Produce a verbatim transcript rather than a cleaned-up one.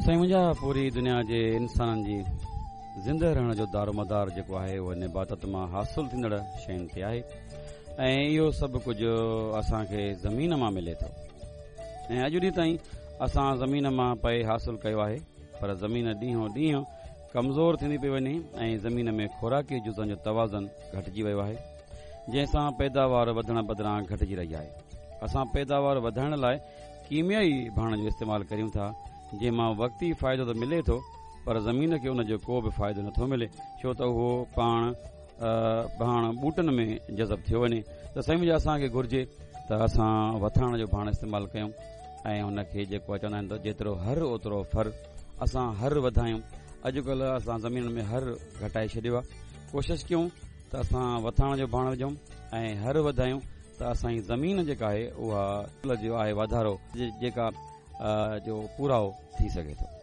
سائين منهنجا، پوري دنيا جي انسانن جي زنده رهڻ جو دارومدار جيڪو آهي، اهو نباتات مان حاصل ٿيندڙ شين تي آهي ۽ اهو سڀ ڪجهه اسان کي زمين مان ملي ٿو ۽ اڄ ڏينهن تائين اسان زمين مان پئي حاصل ڪيو آهي، پر زمين ڏينهون ڏينهن ڪمزور ٿيندي پئي وڃي ۽ زمين ۾ خوراڪي جزن جو توازن گهٽجي ويو آهي، جنهن سان پيداوار وڌڻ بدران گهٽجي رهي آهي. اسان پيداوار وڌائڻ لاءِ ڪيميائي ڀاڻ جو استعمال ڪريون ٿا، جنهن مان وقتي فائدو ته ملي ٿو، پر زمين کي ان جو ڪو به فائدو نٿو ملي، ڇو ته اهو پاڻ ڀاڻ ٻوٽن ۾ جذب ٿيو وڃي. ته سائين منهنجا، اسان کي گهرجي ته اسان وٿاڻ جو ڀاڻ استعمال ڪيون ۽ هن کي جيڪو چوندا آهن ته جيترو هر اوترو ڦر، اسان هر وڌايون. اڄڪلهه اسان زمين ۾ هر گهٽائي ڇڏيو آهي. ڪوشش ڪيون ته اسان وٿاڻ جو ڀاڻ وجهون ۽ هر وڌايون ته اسان جي زمين جيڪا آهي، اها جو آهي واڌارو جيڪا جو پورائو ٿي سگهي ٿو.